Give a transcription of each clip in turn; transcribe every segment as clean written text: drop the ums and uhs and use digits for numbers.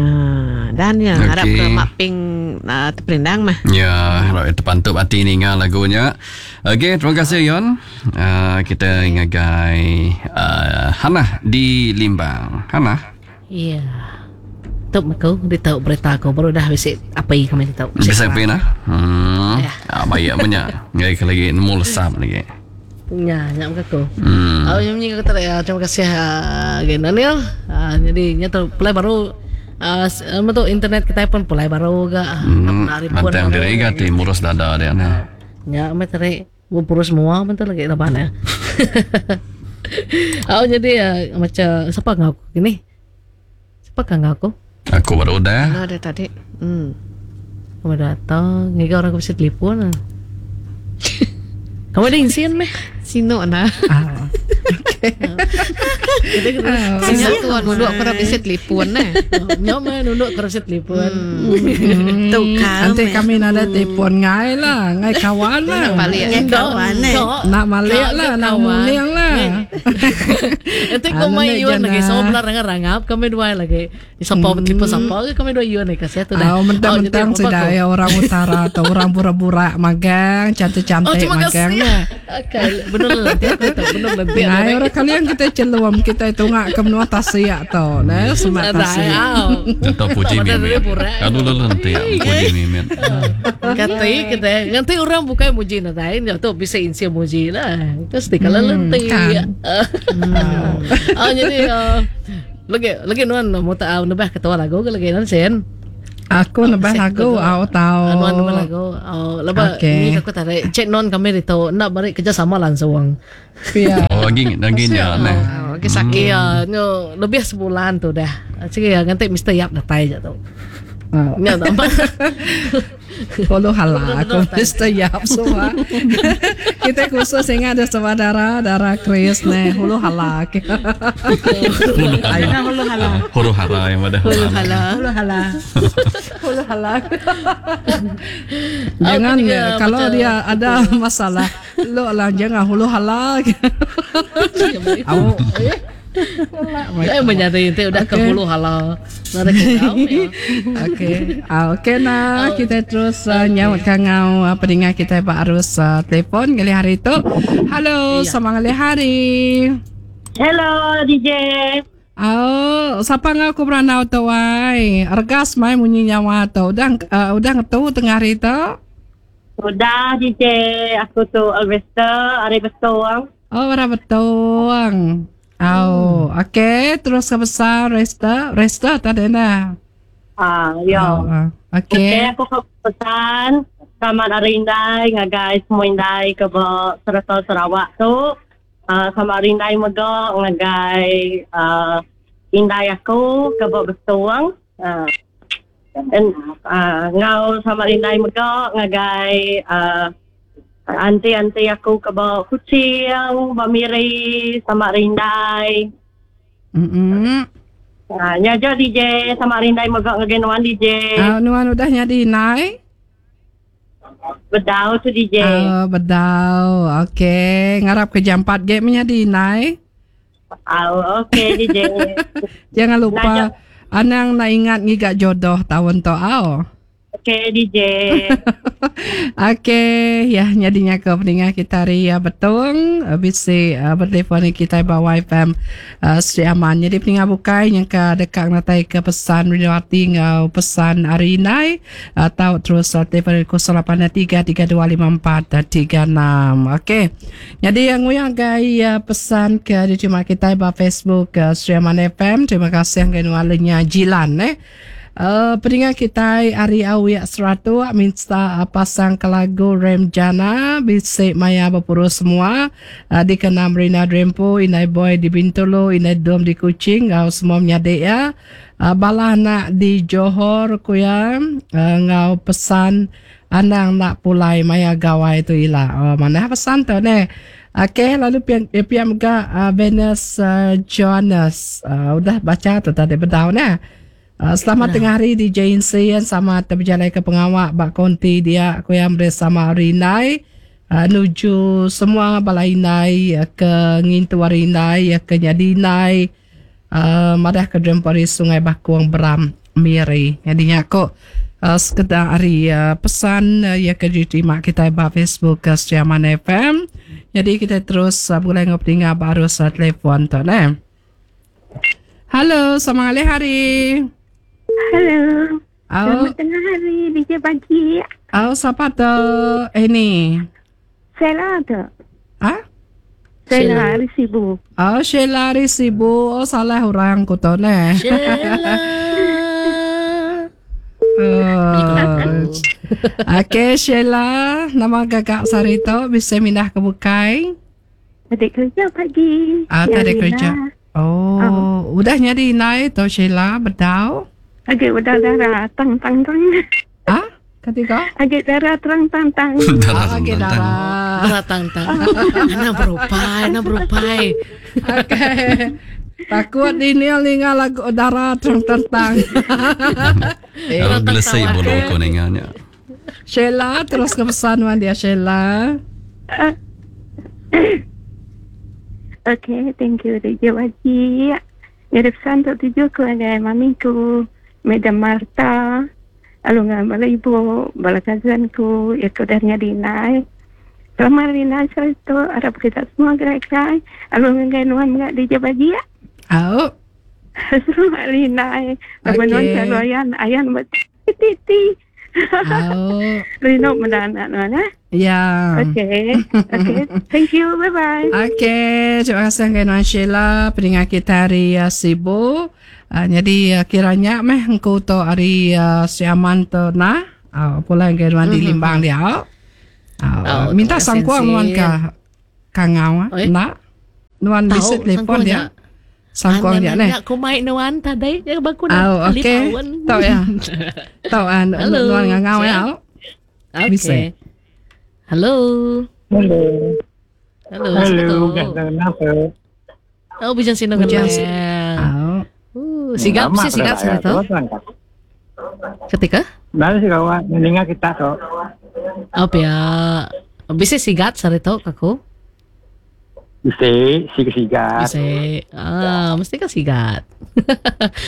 Ah, dan ya harap Okey. ke Mak Ping uh, terperindang mah. Ya, harap terpantup hati ninga lagunya. Okey, terima kasih Yon. Uh, kita ngagai uh, Hanah di Limbang. Hanah. Ya. Tu aku ditau berita aku baru dah bisi api kami ditau. Bisa api nah. Hmm. Ya. Ah, baik banyak. Ngai ke lagi nemu lesap lagi. Ya, nya mega aku. Hmm. Oh, yang aku tadi ya, terima kasih uh, Gen Daniel. Uh, jadi nya tu pulai baru uh, tu internet kita pun pulai baru ga. Hmm. Hari pun. Lantang diri ga ti murus dada dia nah. Nya meh tadi bepurus mua pun tu lagi laban ya. Oh, jadi uh, macam siapa ngau aku gini? Siapa kah ngau aku? Aku baru udah. Nah, ada tadi. Hmm. Kamu datang, ngiga orang aku bisa telefon. Kamu ada insin meh? Sino nah. Ah. Sino tuan nunduk aku dah bisa telefon nah. Nyok meh nunduk ke bisa telefon. Tu kami. Nanti kami nada telefon ngai lah, ngai kawan lah. Balik. Ngai kawan eh. Nak malik lah, nak muling lah. Nanti kau Anu main nak yuan jana. lagi, sama benar rangap rangap kami dua lagi. Siapa telefon siapa ke kami dua yuan lagi kasih tu dah. Oh, mentang-mentang Oh, jadi sudah apa-apa ya orang utara atau orang pura-pura magang, aku. Oh, cantik-cantik terima magang. kasih. lah. Okay, benar lah nanti aku tahu benar nanti. Nah, orang kalian kita celum, kita itu ngak ke menua tasik atau, nah, semak tasik. Atau puji Sama mimit. dari burak. Aduh lu nanti ya, puji mimit. Kata kita nanti orang bukan muji nanti ya tu bisa insi muji lah. Terus di kalau nanti. kan. Ah jadi ah, lagi lagi nuan mau tak nebah ketua lagu ke lagi nan sen. Aku nebah lagu, aku tahu. Nuan nebah lagu. Oh, lepas Okey. ni aku tarik cek non kami itu nak balik kerja sama langsung. Ya. Oh, lagi lagi nya nah. Oh, lagi sakit. Iya, nyo lebih sebulan tu dah. Cik ya nanti Mr. Yap datai je tu. Oh. Nya tak apa. Hulu hala aku Mr. Yap semua. Kita khusus ingat ada sama darah, darah Chris nih, hulu hala. Hulu Nah, hulu hala. Huru hara yang ada. Hulu hala. Hulu hala. Hulu hala. Jangan Aku juga ya, kalau macam- dia ada masalah, lo lah jangan hulu hala. Au. Eh menjadi itu udah ke Okey. hulu hala. Nada ke kau ya. Okey. Ah, okey nah, kita terus uh, nyaut kangau uh, pendengar kita pak arus uh, telefon kali hari itu. Halo, selamat ngalih hari. Hello DJ. Oh, siapa ngau aku beranau tu wai? Regas mai munyi nyawa tu. Udah uh, udah ngetu tengah hari tu. Sudah DJ, aku tu Alvester, hari betul. Oh, ora betul. Oh, okey, terus ke besar resta, resta tadi nah. Ah, yo. Oh, ah. Okey, okey. aku ke pesan selamat hari Indai ngagai semua Indai ke serata Sarawak tu. Ah, selamat hari Indai mega ngagai ah, Indai aku ke betul. Ah. And, ah, ngau selamat hari Indai mega ngagai ah, Anti-anti aku ke bawah kucing, bamiri, sama rindai. Mm. Ha, nya je DJ sama rindai megak ngagai nuan DJ. Ah, nuan udah nyadi nai? Bedau tu DJ. Oh, bedau. Okey, ngarap ke jam 4 ge menyadi nai. Ah, okey DJ. Jangan lupa Nah, anang nak ingat ngigak jodoh tahun tu au. Okey DJ. Okey, ya nyadinya ke pendengar kita hari ya betul bisi uh, bertelefon kita bawa FM uh, Sri Aman. Jadi pendengar bukai yang ke dekat natai ke pesan Rinawati ngau pesan hari inai atau terus uh, telefon 0833254436. Okey. Jadi yang nguyang gai uh, pesan ke diterima kita ba Facebook uh, Sri Aman FM. Terima kasih yang kenualnya Jilan eh. Pendengar kita hari awiak seratu minta pasang ke lagu Rem Jana bisik maya berpuru semua uh, di kenam Rina Drempo Inai Boy di Bintulu Inai Dom di Kuching ngau semua menyadik ya uh, bala anak di Johor kuya uh, ngau pesan anang nak pulai maya gawai tu ila uh, mana pesan tu ne Okey, lalu piang piang mega uh, Venus uh, Jonas uh, udah baca tu tadi bedau ne. Selamat tengah hari di JNC yang sama terberjalan ke pengawak bak konti dia aku yang bersama Rinai uh, nuju semua balai inai uh, ke ngintu Rinai uh, ke nyadi inai uh, madah ke drempori Sungai Bakuang Beram. Miri. Nyadi nya ko uh, sekeda ari uh, pesan uh, iya ke diterima kitai ba Facebook uh, Setia Man FM. Jadi kita terus uh, begulai enggau peninga ba arus uh, telefon tu neh. Halo, selamat ngalih hari. Halo. Au. Selamat tengah hari, DJ pagi. Au, siapa tu? Ini. Sheila tu. Ah? Sheila hari Sibu. Oh, Sheila hari Sibu. Oh, salah orang ku tu neh. Sheila. Oh. Okey, Sheila, nama gagak sehari tu bisa mindah ke bukai? Adik kerja pagi. Ah, tak ada Yang kerja. Rina. Oh, udah nyadi indai tu Sheila bedau? Agak udah darah tang tang tang. Ah? Ketiga? Agak darah terang tang tang. Darah Okey, tang-tang. darah. Darah tang tang. Anak berupai, anak berupai. Okey. Takut Daniel ninga lagu darah terang tentang. Eh, gelesih bulu aku ninganya. Sheila terus ke pesan wan dia Sheila. Okay, thank you DJ Wajib. Jadi pesan untuk tuju ku ngagai mamiku, Madam Martha, lalu dengan bala ibu, bala cousin ku, ya ku dah nyadi nai. Selamat hari nai itu, harap kita semua gerai-gerai. Lalu ngagai nuan mga DJ Wajib. Au. Selamat hari nai. Lalu nuan Okey. selalu ayan, ayan buat titi. Au. Rindu mendanak nuan eh. Ya. Okay, okay. Thank you, bye-bye. Okey, terima kasih dengan Nuan Sheila pendengar kita hari uh, Sibu. Uh, jadi uh, kiranya meh engkau tu hari uh, Si Aman tu nah. Uh, pulang ke Nuan di Limbang dia. Uh, Oh, minta terima kasih, sangkuang Nuan Sin. ke Kangau ah. Oi. Nak. Nuan Tahu, bisa telefon sangkuang dia. Sangkuang dia neh. Aku main nuan tadi, ya baku Oh, okey. Tahu ya. Tahu ah Halo. Nuan ngangau ya. Okey. Bisa. Halo. Halo. Halo. Halo, Halo. kenapa? Oh, bijang sino Bujang kenal. Au. Sigap Lama sih sigap sudah sih saya tu. Ketika? Baru sih kawan, mendengar kita tu. Apa ya? Bisa sigat sari tu kaku. Bisa, siga-siga. Bisa. Ah, mesti kan sigat.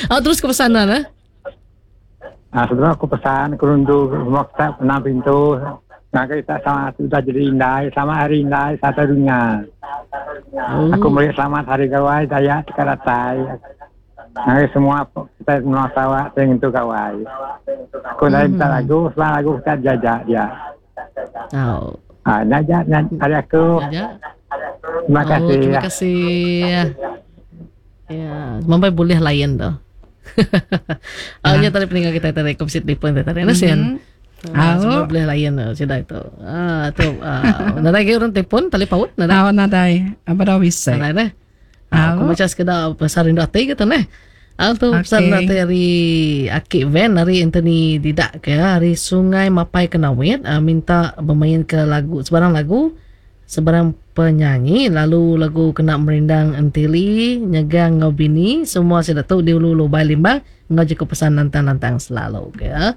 oh, terus ke pesanan eh? Ah, sebelum aku pesan, aku rundu rumah kita pernah pintu. Nah, kita sama sudah jadi indai, sama hari indai, satu dunia. Oh. Aku melihat selamat hari gawai, daya tekaratai. Nah, semua kita semua sawah yang itu gawai. Aku dah minta lagu, setelah lagu kita jajak dia. Oh. Ah, najak, najak, hari aku. Jajak. Terima Oh, kasih. terima kasih. Ya, sampai boleh layan tu. Oh, ya tadi peninggal kita tadi komsit di pun tadi nasian. Ah, Au. sampai boleh layan tu sudah itu. Ah, tu ah, nadai ke orang telefon tali paut nadai. Au nadai. Apa dah bisa. Nadai neh. Ah, aku Au. baca sekedar pasal rindu hati gitu neh. Ah, tu pasal Okey. rindu hati hari Akik Van hari Anthony Didak ke hari Sungai Mapai Kenawit ah, minta bermain ke lagu sebarang lagu sebarang penyanyi lalu lagu kena merindang entili nyegang ngau bini semua saya tu di ulu lubai limbang ngau cukup pesan lantang-lantang selalu ke ya.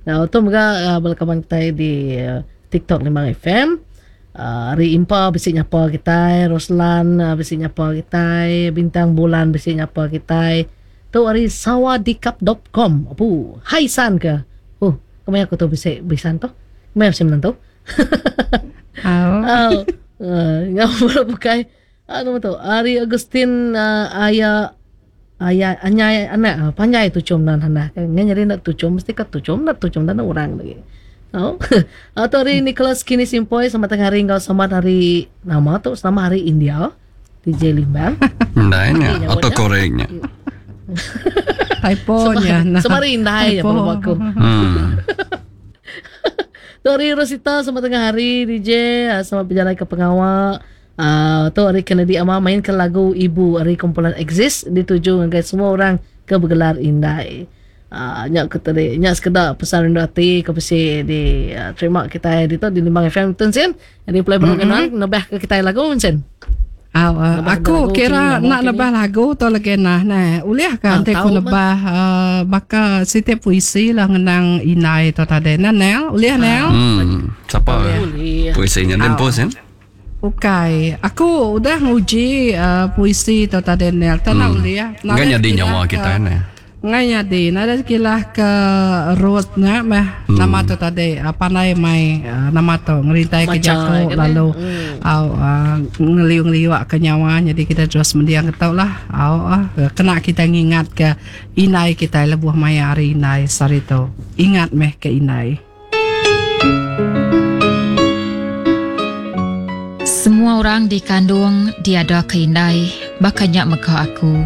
Nah, tu mega uh, berkawan kita di uh, TikTok Limbang FM. Uh, hari Impa bisik nyapa kita, Roslan uh, bisik nyapa kita, Bintang Bulan bisik nyapa kita. Tu hari sawadikap.com. Apu, hai san ke? Oh, kemaya aku tu bisik bisan tu? Kemaya bisik menentu? Au. Oh, ngau pula bukai. Anu tu, Ari Agustin uh, ayah ayah anyai anak ah, panjai tucum nan hana. Kan nyari nak tucum mesti ka tucum nak tucum dan orang lagi. Oh. Atau hari Nicholas Kini Simpoy selamat tengah hari engkau selamat hari nama tu selamat hari India DJ Limbang. Ndainya atau koreknya. Typo-nya. Nah. Selamat hari Indai ya Typo. perlu aku. Tu hari Rosita selamat tengah hari DJ ah, selamat berjalan ke pengawal. Uh, tu hari Kennedy Ama main ke lagu Ibu hari kumpulan Exist dituju ngagai semua orang ke bergelar Indai. Uh, nyak ke tadi nyak sekedar pesan rindu hati ke pesi di uh, terima kita di tu di Limbang FM tu sen. Jadi play baru kenal nebah ke kita lagu sen. Au, uh, Nebah aku lagu kira kini, nak kini. nebah lagu tu lagi nah nah. Uliah kan Ah, nanti aku tahu nebah uh, baka setiap puisi lah ngenang inai tu tadi. Nah Nel, uliah Nel. Siapa Boleh. puisinya dan pos kan? Bukai. Aku udah nguji uh, puisi tu tadi Nel. Tak nak uliah. Enggak jadi nyawa kita ni. Ngai nyadi nadai kilah ke Ruth nya meh nama tu tadi pandai mai nama tu ngerintai ke jaku lalu au ngeliu ngeliu ke nyawa nyadi kita terus mending ke tu lah au kena kita ngingat ke indai kitai lebuh maya hari indai sehari tu ingat meh ke indai. Semua orang dikandung diadaka indai, baka nya mega aku.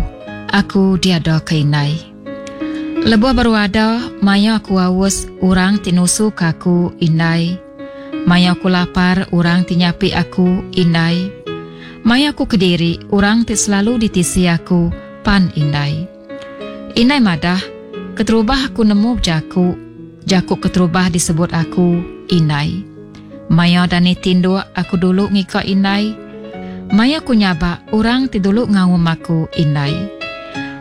Aku diadaka indai. Lebuh baru ada, maya aku aus, orang ti nusuka aku, indai. Maya aku lapar, orang ti nyapi aku, indai. Maya aku kediri, orang ti selalu ditisi aku, pan indai. Indai madah, keterubah aku nemu bejaku, jaku keterubah disebut aku, indai. Maya dani tinduk, aku dulu ngiga indai. Maya ku nyabak, orang ti dulu ngaum aku, indai.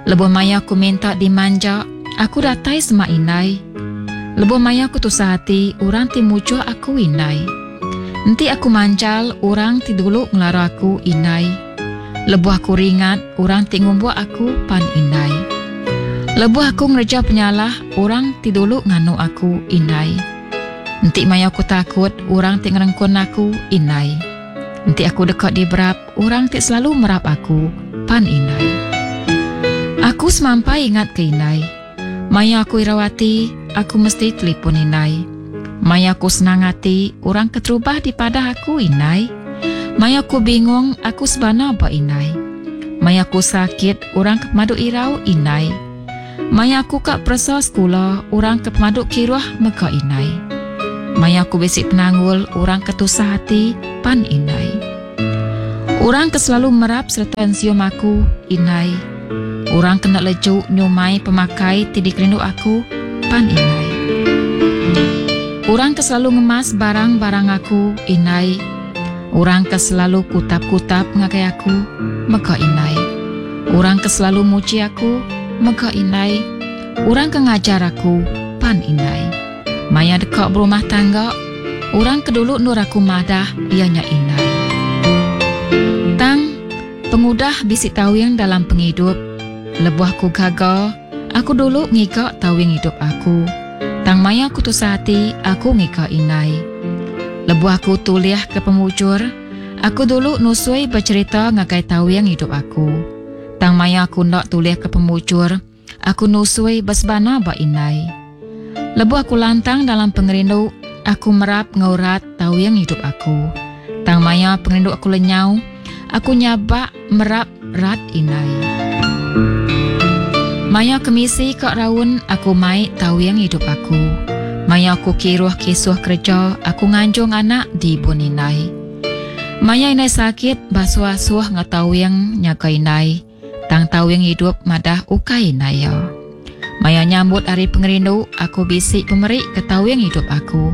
Lebuh maya ku minta dimanja, aku datai semak indai. Lebuh maya ku tusah ati, orang ti mujuk aku, indai. Enti aku manjal, orang ti dulu ngelara aku, indai. Lebuh aku ringat, orang ti ngumbuk aku pan indai. Lebuh aku ngereja penyalah, orang ti dulu nganu aku indai. Enti maya aku takut, orang ti ngerengkun aku indai. Enti aku deka diberap, orang ti selalu merap aku pan indai. Aku semampai ingat ke indai. Maya aku irau ati, aku mesti telipun indai. Maya aku senang ati, orang keterubah dipadah aku indai. Maya aku bingung, aku sebana ba indai. Maya aku sakit, orang ke pemadu irau indai. Maya aku ka peresa sekula, orang ke pemadu kiruh mega indai. Maya aku bisi penanggul, orang ke tusah ati pan indai. Orang ke selalu merap sereta ensium aku, indai. Orang ke enda leju nyumai pemakai ti dikerindu aku, pan indai. Orang ke selalu ngemas barang-barang aku, indai. Orang ke selalu kutap-kutap ngagai aku, mega indai. Orang ke selalu muji aku, mega indai. Orang ke ngajar aku, pan indai. Maya deka berumah tangga, orang ke dulu endur aku madah iya nya indai. Tang, pengudah bisi tawing dalam pengidup, lebuh aku gaga, aku dulu ngiga tawing idup aku. Tang maya aku tusah ati, aku ngiga indai. Lebuh aku tulihka pemujur, aku dulu nusui becherita ngagai tawing idup aku. Tang maya aku enda tulihka pemujur, Aku nusui besebana ba indai. Lebuh aku lantang dalam pengerindu, aku merap enggau rat tawing idup aku. Tang maya pengerindu aku lenyau, aku nyabak merap rat indai. Maya kemisi ka raun, aku mai tawing idup aku. Maya aku kiruh kisuh kereja, aku nganjung anak di ibun indai. Maya indai sakit, basuh asuh enggau tawing nyaga indai. Tang tawing idup madah ukai indai iya. Maya nyambut hari pengerindu, aku bisi pemeri ke tawing idup aku.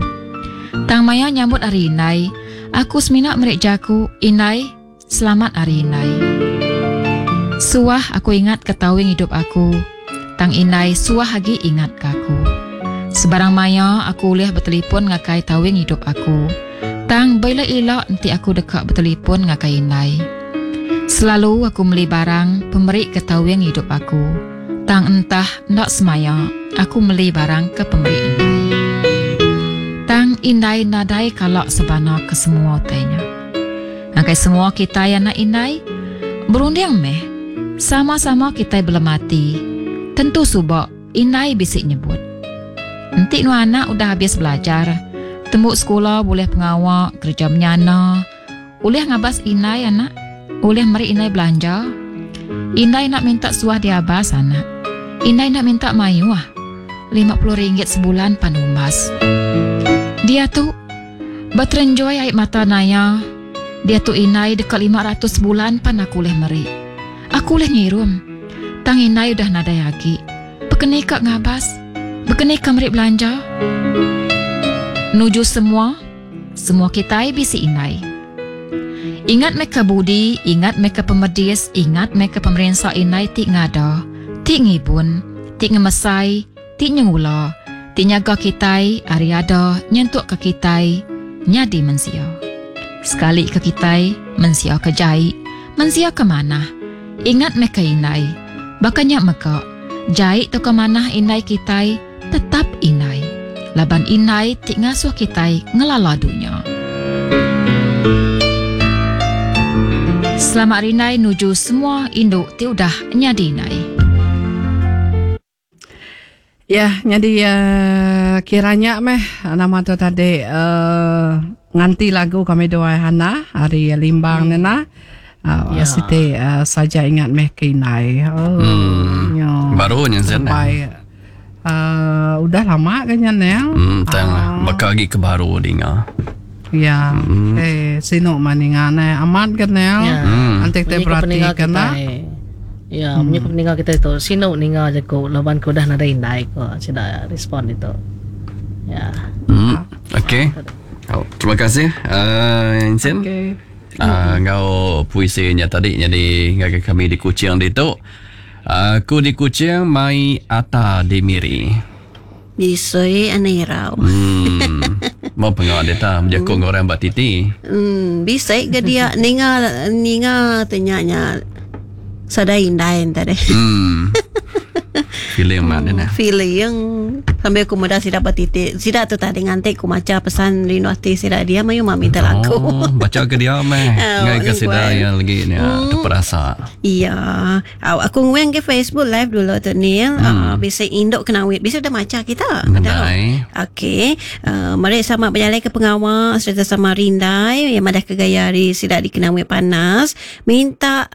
Tang maya nyambut hari indai, aku semina meri jaku, Indai, selamat hari indai. Suah aku ingat ke tawing idup aku, tang indai suah agi ingat ke aku. Sebarang maya aku ulih betelipun ngagai tawing idup aku. Tang beila-ila enti aku deka betelipun ngagai indai. Selalu aku meli barang pemeri ke tawing idup aku. Tang entah enda semaya aku meli barang ke pemeri indai. Tang indai nadai kala sebana ke semua utai nya. Ngagai semua kitai anak indai, berunding meh, sama-sama kitai belemati, tentu suba Indai bisi nyebut. Enti nuan anak udah abis belajar, tembu sekula bulih pengawa, kereja menyana, ulih ngabas indai anak, ulih meri indai belanja. Indai enda minta suah diabas anak. Indai enda minta mayuh. 50 ringgit sebulan pan umbas. Diatu, beterenjoi ai mata naya, diatu indai deka 500 sebulan pan aku ulih meri. Aku ulih ngirum. Tang indai udah nadai agi. Bekeni ka ngabas? Bekeni ka meri belanja? Nuju semua, semua kitai bisi indai. Ingat meh ka budi, ingat meh ka pemedis, ingat meh ka pemerinsa indai ti ngada, ti ngibun, ti ngemesai, ti nyengula, ti nyaga kitai ari ada nyentuk ka kitai nyadi mensia. Sekali ka kitai mensia ka jai, mensia ka manah, ingat meh ka indai. Baka nya mega, Jai tauka manah indai kitai tetap indai laban indai ti ngasuh kitai ngelala dunya. Selamat Hari Indai nuju semua indu ti udah nyadi indai. Ya, nyadi uh, kira nya meh nama tu tadi uh, nganti lagu kami dua Hana hari Limbang hmm. nena. Uh, ya. Siti uh, saja ingat meh ke indai. Oh, hmm. Ya. Baru nya Zen. Sampai uh, udah lama kan nya nel. Hmm, tang uh, baka lagi ke baru dinga. Ya. Hmm. Eh, sinu maninga ne amat kan nel. Ya. Nanti kita perhatikan lah. Ya, hmm. Munyi ninga kita itu sinu ninga jaku laban ke udah nadai indai ko sida respon itu. Ya. Okey. Oh, terima kasih Insin. Okey. Enggau puisi nya tadi nyadi ngagai kami di Kuching ditu. Aku di Kuching mai ata di Miri. Bisoi anai irau. Hmm. Mau pengawa dia ta bejaku enggau orang ba titi. Hmm, bisai ke dia ninga ninga tanya nya sadai indai enta deh. Hmm. Feeling mat dia nah. Feeling sambil aku meda sida ba titi. Sida tu tadi nganti ku macha pesan rindu ati sida dia mayuh mah minta lagu. Oh, baca ke dia meh. Oh, Ngai ke sida nungguan. yang lagi ni terperasa. Iya. Au, aku nguing ke Facebook live dulu tu Neil. Bisa induk kena wit. Bisa udah maca kita. Nadai. Okey. Mari sama berjalai ke pengawal serta sama rindai yang madah ke gaya hari sida dikena wit panas. Minta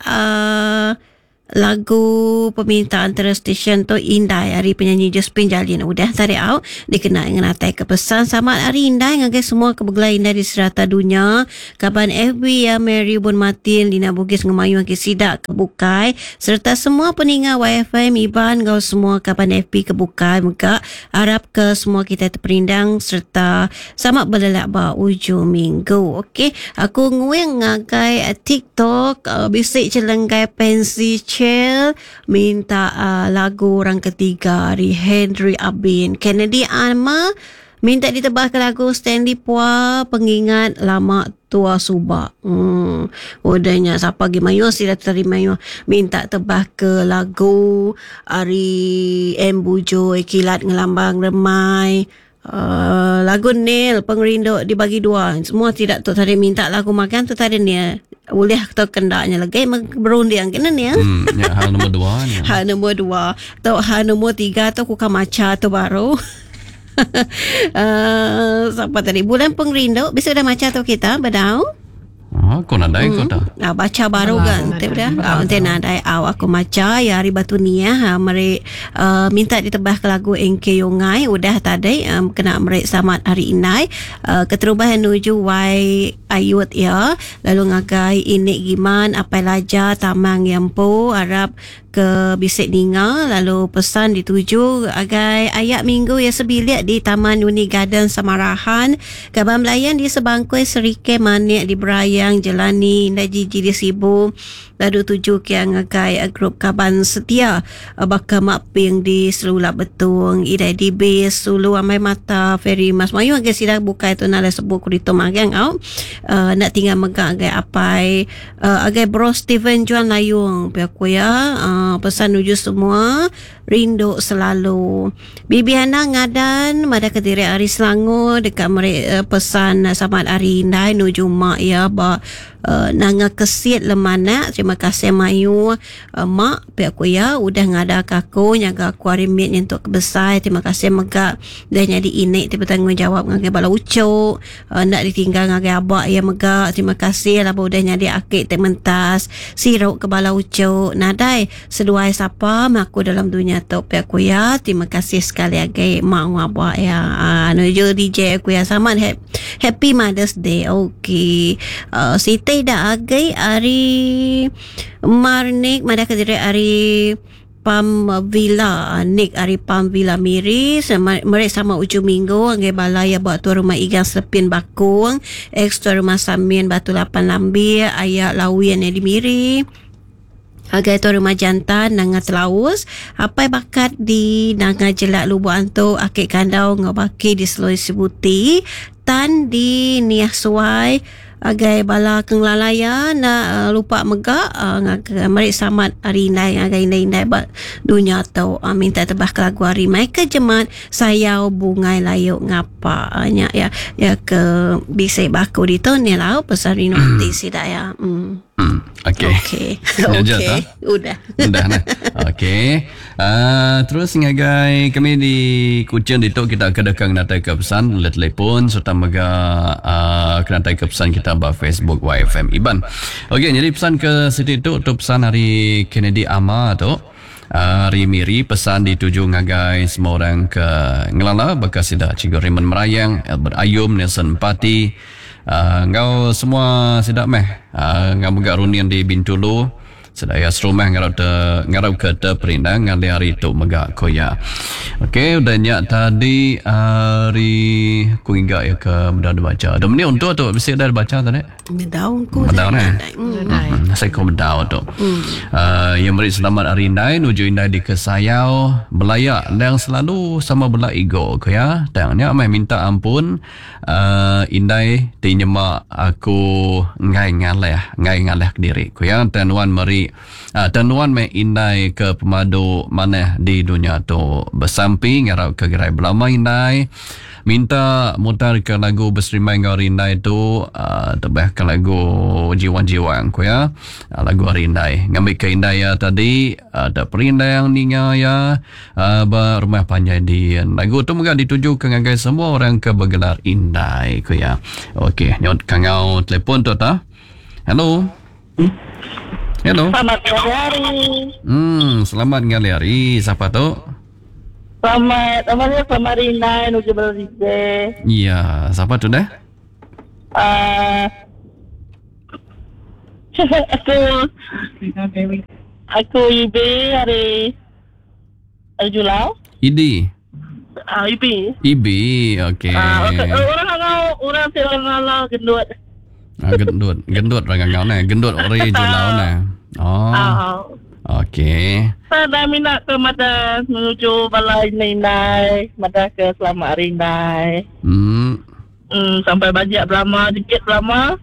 lagu permintaan antara stesen tu Indai hari penyanyi Josephine Jalin udah tadi au dikena ngenatai ke pesan sama hari Indai ngagai semua kebegelai Indai di serata dunia kaban FB ya Mary Bun Martin Lina Bugis ngemayu ke sidak kebukai serta semua peninga YFM Iban ngau semua kaban FB kebukai mega harap ke semua kita terperindang serta sama berlelak ba ujung minggu. Okey, aku nguing ngagai TikTok bisik celenggai pensi Chel minta lagu orang ketiga dari Henry Abin. Kennedy Alma minta ditebah ke lagu Stanley Pua pengingat lama tua subak. Udahnya siapa lagi mayu sila terima mayu minta tebah ke lagu ari M Bujoi kilat ngelambang remai. Lagu Neil pengerindu dibagi dua. Semua tidak tu tadi minta lagu makan tu tadi Neil. Boleh atau kendaknya lagi berunding kena ni. Ya, hal nombor dua ni. Hal nombor dua. Atau hal nombor tiga tu aku kan maca tu baru. Siapa tadi? Bulan pengerindu. Bisa dah maca tu kita bedau. Oh, aku nadai kau dah. Ah, baca baru kan. Nanti dah. Nanti nadai aku maca ya hari batu niah meri minta ditebah ke lagu NK Yongai udah tadi kena meri selamat hari inai keterubahan nuju Y Ayut ya lalu ngagai inik giman apai laja tamang yampo harap ke bisik ninga lalu pesan dituju agai ayak minggu ya sebilik di Taman Uni Garden Samarahan Kaban Melayan di Sebangkoi Serike Manik di Berayang Jelani Indah Jiji di Sibu lalu tuju ke ngagai grup Kaban Setia Baka Mak Ping di Selula Betung Idai di Bis Sulu Amai Mata Ferry Mas Mayu agai sida bukai tu nala sebut kurito magang au nak tinggal megak agai apai agai bro Steven Juan Layung pihak ya pesan nuju semua rindu selalu. Bibi Hana ngadan mada kediri hari Selangor dekat meri pesan selamat hari Indai nuju mak ya ba nanga kesit lemanak. Terima kasih mayu mak pihak ku ya udah ngada ke aku nyaga aku hari mit nyentuk ke besar. Terima kasih megak dah jadi inik ti bertanggungjawab ngagai bala ucuk nak ditinggal ngagai abak ya megak. Terima kasih lah udah jadi akik te mentas siruk ke bala ucuk nadai seduai sapa aku dalam dunia tu pihak ku ya. Terima kasih sekali lagi mak abak ya. Nuju DJ aku ya sama Happy Mother's Day. Okey. Siti dah agai hari Marnik madah kediri hari Pam Villa Nick hari Pam Villa Miri mereka sama ujung minggu anggai balai buat tuan rumah Igang Selepin Bakung ex tuan rumah Samin Batu Lapan Lambir ayak Lawian yang di Miri agai tuan rumah jantan Nanga Telaus apai bakat di Nanga Jelak Lubuk Antu akik kandau ngau baki di Seloi Sibuti tan di Niah Suai. Agai bala ke ngelala iya enda uh, lupa mega uh, ngagai meri selamat hari indai ngagai indai-indai ba dunya tu. Uh, minta tebah ke lagu ari Michael Jemat Sayau Bungai Layu Ngapa. Uh, nya ya ya ke bisi baku ditu ni lau pasal rindu ati sida ya. Hmm. Okey. Okey. Nya aja Okey. ta? Udah. Udah nah. Okey. Terus ngagai kami di Kuching ditu kita ke deka ngenatai ke pesan melalui telefon serta mega uh, kenatai ke pesan kita ba Facebook YFM Iban. Okey, jadi pesan ke siti tu tu pesan hari Kennedy Ama tu. Hari Miri pesan dituju ngagai semua orang ke ngelala baka sida Cikgu Raymond Merayang, Albert Ayum, Nelson Empati, Enggau semua sida meh enggau mega runding di Bintulu sida iya serumah ngarap te ngarap ke te perindang ngalih hari tu mega ku iya. Okey udah nya tadi hari ku ngiga iya ke meda dibacha. Dominic untuk tu bisi udah dibacha tadi. Medau ku Medau neh. Hmm. Saya ku medau tu. Hmm. Iya meri selamat hari indai nuju indai dikesayau belaya endang selalu sama bela ego ku iya. Tang nya meh minta ampun Uhh indai ti nyema aku enggai ngalih enggai ngalih kediri ku iya tang nuan meri uhh tang nuan meh indai ke pemadu manah di dunya tu besampi ngarap ke gerai belama indai minta mutar ke lagu beserimbai enggau hari indai tu uhh tebah ke lagu jiwang jiwang ku iya lagu hari indai ngambi ke indai iya tadi uhh teperindang ninga iya. Ba rumah panjai din. Lagu tu mega ditujuka ngagai semua orang ke begelar indai, ku iya. Okey, nyut kangau telefon tu ta. Hello. Hello. Selamat ngalih hari. Hmm, selamat ngalih hari. Siapa tu? Selamat, apa ni? Selamat hari indai nuju bala DJ. Ya, siapa tu dah? Uh, aku aku Ibi hari Ari Julau. Idi. Ah, Ibi. Ibi, okey. Ah, okay. Orang ngangau, orang ti orang ngalau gendut. Ah, gendut, gendut orang ngangau neh, gendut ori Julau neh. Oh. Ah. Okey. Saya dah minat ke mata menuju bala indai-indai, mata ke selamat hari indai. Sampai bajak belama, dikit belama.